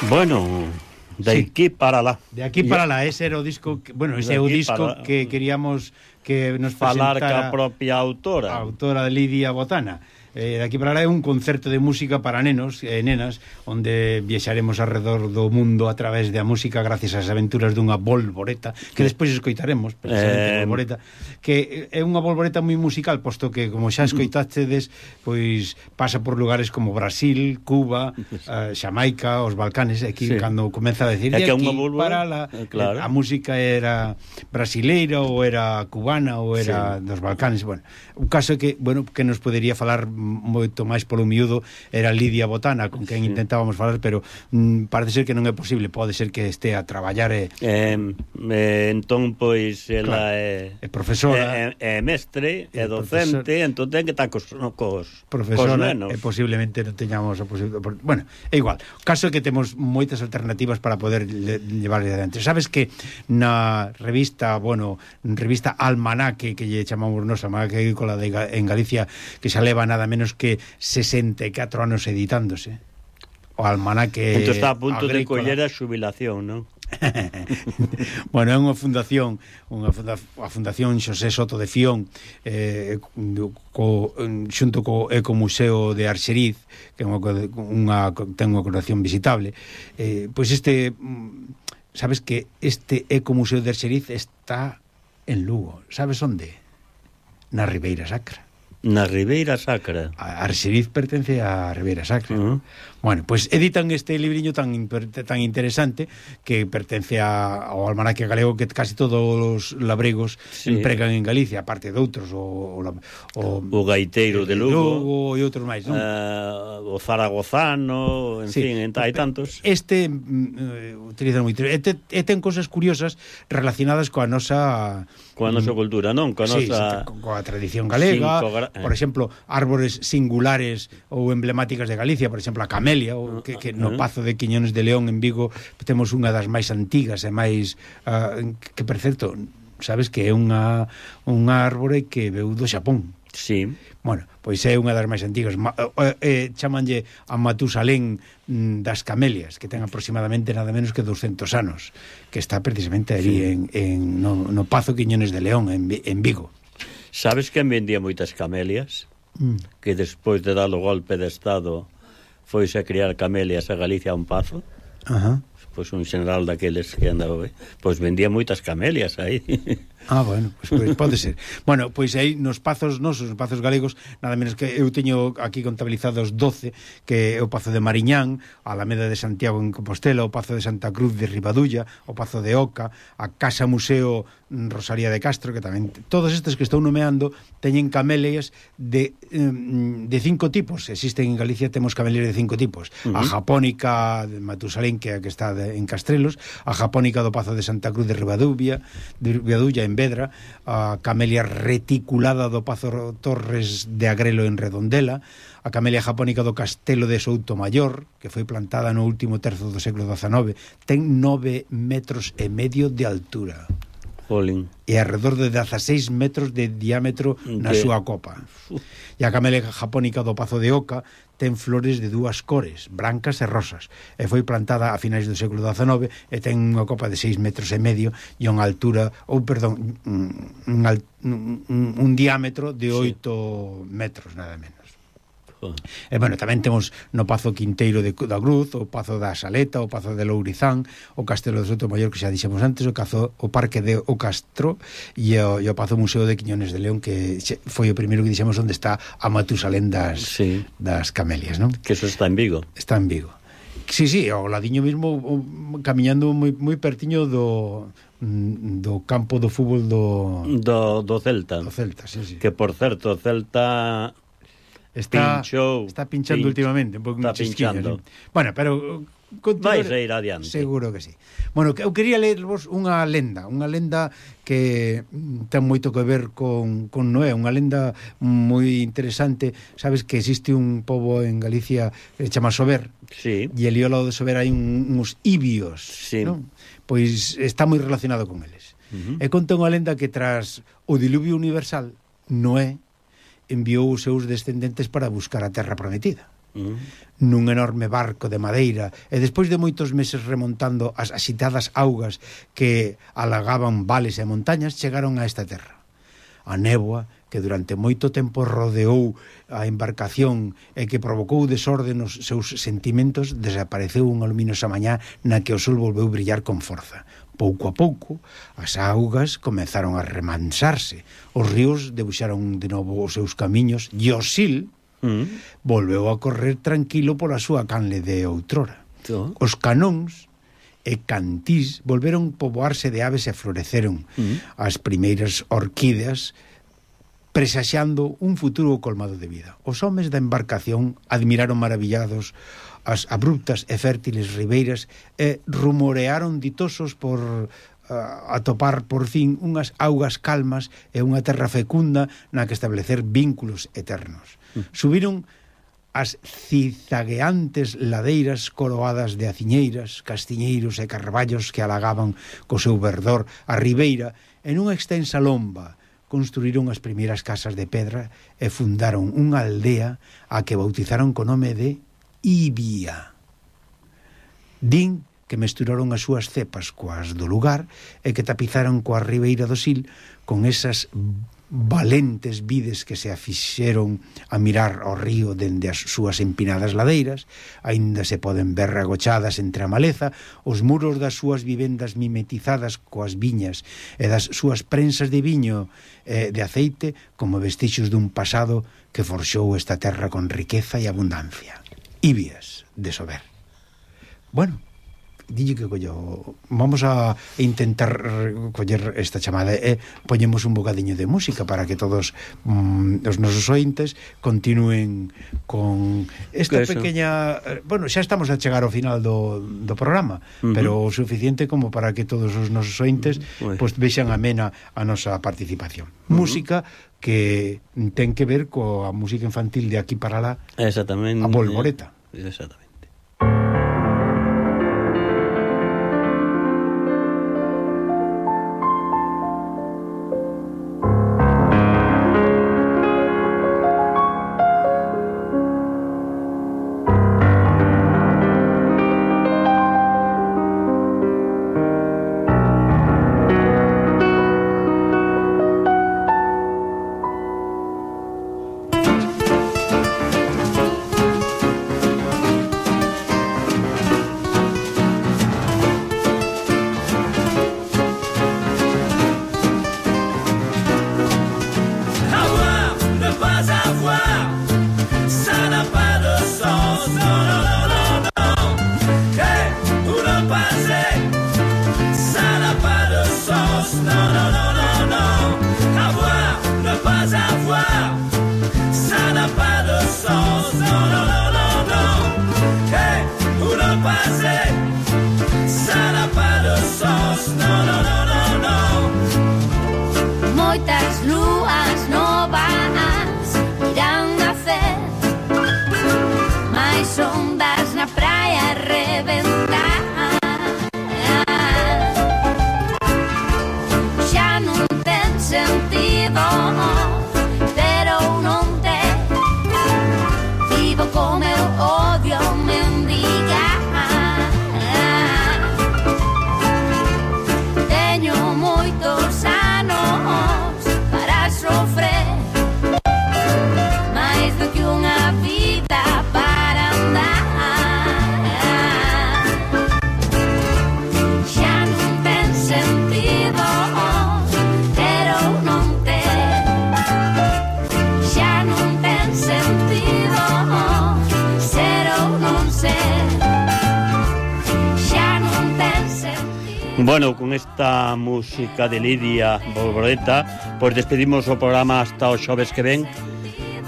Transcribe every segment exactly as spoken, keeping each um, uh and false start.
Bueno, de Sí. aquí para lá. De aquí para lá, ese era o disco que, bueno, ese De é o aquí disco para- que queríamos que nos Falar presentara ca propia autora. a autora Lidia Botana. Eh, de aquí para lá é un concerto de música para nenos e nenas, onde viaxaremos alrededor do mundo a través da música gracias ás aventuras dunha bolboreta, que despois escoitaremos, precisamente Eh, bolboreta, que é unha bolboreta moi musical, posto que, como xa escoitastedes, pois pasa por lugares como Brasil, Cuba, eh, Xamaica, os Balcanes, aquí Sí. cando comeza a decir É de que é aquí unha para bolboreta, lá, eh, claro. a música era brasileira ou era cubana ou era sí. dos Balcanes. Bueno, o caso é que, bueno, que nos podería falar moito máis polo miúdo era Lidia Botana, con quen sí. intentábamos falar, pero mm, parece ser que non é posible, pode ser que este a traballar e Eh, eh, entón, pois, ela Claro. é... É profesora. É, é mestre, é É docente, profesor- entón ten que estar cos, cos, cos profesora nenos. e posiblemente non teñamos a posibilidade. Bueno, é igual. O caso é que temos moitas alternativas para poder le, llevarle adiante. Sabes que na revista, bueno, revista Almanaque, que lle chamamos nos Almanaque agrícola de Ga- en Galicia, que xa leva nada menos que sesenta e catro anos editándose. O Almanaque Entón está a punto de agrícola. coller a xubilación, non? Bueno, é unha fundación, unha funda, a Fundación Xosé Soto de Fión, eh, co, xunto co Ecomuseo de Arxeriz, que é unha, unha, ten unha colaboración visitable. Eh, pois este, sabes que este Ecomuseo de Arxeriz está en Lugo. Sabes onde? Na Ribeira Sacra. Na Ribeira Sacra. A Arxeriz pertence á Ribeira Sacra. Uh -huh. Bueno, pois pues editan este libriño tan tan interesante que pertence a, ao almanaque galego que casi todos os labregos sí. empregan en Galicia, aparte de outros, o, o, o, o gaiteiro de Lugo, Lugo e outros máis, non? Uh, o zaragozano, en sí. fin, hai tantos. Este uh, utiliza moito. E, te, e ten cosas curiosas relacionadas coa nosa coa nosa cultura, non? Coa sí, nosa sí, coa tradición galega, gra... por exemplo, árbores singulares ou emblemáticas de Galicia, por exemplo, a camelia, o que, que no Pazo de Quiñones de León en Vigo temos unha das máis antigas e máis uh, que, por certo, sabes que é unha un árbore que veu do Xapón. Sí. Bueno, pois é unha das máis antigas. Ma, eh, eh, chamanlle a Matusalén mm, das camelias, que ten aproximadamente nada menos que doscentos anos, que está precisamente ali sí. en, en no, no Pazo Quiñones de León en, en Vigo. Sabes quen vendía moitas camelias? Mm. Que despois de dar o golpe de estado foise a criar camelias a Galicia a un pazo. Ajá. Pois un general daqueles que andaba, pois vendía moitas camelias aí. Ah, bueno, pois, pois pode ser. Bueno, pois aí nos pazos nosos, nos pazos galegos, nada menos que eu teño aquí contabilizados doce, que é o Pazo de Mariñán, a Alameda de Santiago en Compostela, o Pazo de Santa Cruz de Ribadulla, o Pazo de Oca, a Casa Museo Rosalía de Castro, que tamén todos estes que estou nomeando teñen camelias de de cinco tipos. Existen en Galicia, temos camelias de cinco tipos. Uh -huh. A japónica de Matusalén, que é a que está de, en Castrelos, a japónica do Pazo de Santa Cruz de Ribadulla, de Ribadulla en Vedra, a camelia reticulada do Pazo Torres de Agrelo en Redondela, a camelia japónica do Castelo de Soutomaior, que foi plantada no último terzo do século dezanove, ten nove metros e medio de altura. Jolín. E alrededor de dezaseis metros de diámetro na que... súa copa. E a camelia japónica do Pazo de Oca ten flores de dúas cores, brancas e rosas, e foi plantada a finais do século dezanove e ten unha copa de seis metros e medio e unha altura, ou perdón, un, un, un, un diámetro de oito sí. metros, nada menos. E, bueno, tamén temos no Pazo Quinteiro de, da Cruz, o Pazo da Saleta, o Pazo de Lourizán, o Castelo de Soutomaior, que xa dixemos antes, o, cazo, o Parque de O Castro e o, e o Pazo Museo de Quiñones de León, que foi o primeiro que dixemos onde está a Matusalén das, sí. das camelias, non? Que eso está en Vigo. Está en Vigo. Sí, sí, ao ladiño mismo, o, camiñando moi, moi pertiño do... do campo do fútbol do... Do, do Celta. Do Celta, sí, sí. Que, por certo, o Celta... Está, Pinchou, está pinchando pinch, últimamente, un pouco está pinchando. ¿Sí? Bueno, pero vais a ir adiante. Seguro que sí. Bueno, eu quería lervos unha lenda, unha lenda que ten moito que ver con, con Noé, unha lenda moi interesante. Sabes que existe un pobo en Galicia que se chama Sober. Sí. E ali ao lado de Sober hai un, uns ibios, sí. non? Pois está moi relacionado con eles. Uh -huh. E conta unha lenda que tras o diluvio universal, Noé enviou os seus descendentes para buscar a terra prometida. mm. nun enorme barco de madeira, e despois de moitos meses remontando as axitadas augas que alagaban vales e montañas, chegaron a esta terra. A néboa, que durante moito tempo rodeou a embarcación e que provocou desorde nos seus sentimentos, desapareceu unha luminosa mañá na que o sol volveu brillar con forza. Pouco a pouco, as augas comezaron a remansarse, os ríos debuxaron de novo os seus camiños, e o Sil mm. volveu a correr tranquilo pola súa canle de outrora. ¿Tú? Os canóns e cantís volveron poboarse de aves e floreceron mm. as primeiras orquídeas, presaxando un futuro colmado de vida. Os homes da embarcación admiraron maravillados as abruptas e fértiles ribeiras e rumorearon ditosos por uh, atopar por fin unhas augas calmas e unha terra fecunda na que establecer vínculos eternos. Mm. Subiron as cizagueantes ladeiras coroadas de aciñeiras, castiñeiros e carballos que alagaban co seu verdor a ribeira en unha extensa lomba. Construíron as primeiras casas de pedra e fundaron unha aldea a que bautizaron co nome de Ibia. Din que mesturaron as súas cepas coas do lugar e que tapizaron coa ribeira do Sil con esas valentes vides que se afixeron a mirar ao río dende as súas empinadas ladeiras. Aínda se poden ver agochadas entre a maleza os muros das súas vivendas mimetizadas coas viñas e das súas prensas de viño e de aceite como vestixios dun pasado que forxou esta terra con riqueza e abundancia. Ibias de Sober. Bueno, dille que collo, vamos a intentar coller esta chamada e poñemos un bocadiño de música para que todos mm, os nosos ointes continúen con esta pequeña, bueno, xa estamos a chegar ao final do, do programa, uh-huh. pero o suficiente como para que todos os nosos ointes uh-huh. pues, vexan amena a nosa participación. Uh-huh. Música que ten que ver coa música infantil de aquí para lá, exactamente, a Polvoreta. Exactamente. Bueno, con esta música de Lidia Polvoreta, pues despedimos o programa hasta o xoves que ven.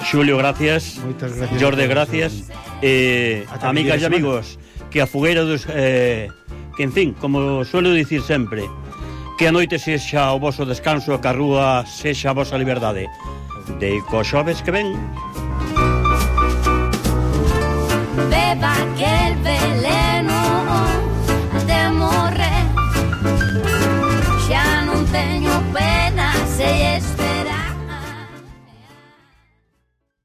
Xulio, gracias. Moitas gracias. Jorge, gracias. Eh, amigas e amigos, que a fogueira dos... Eh, que, en fin, como suelo dicir sempre, que a noite sexa o voso descanso e que a rúa sexa a vosa liberdade. De co xoves que ven. Beba que el veleno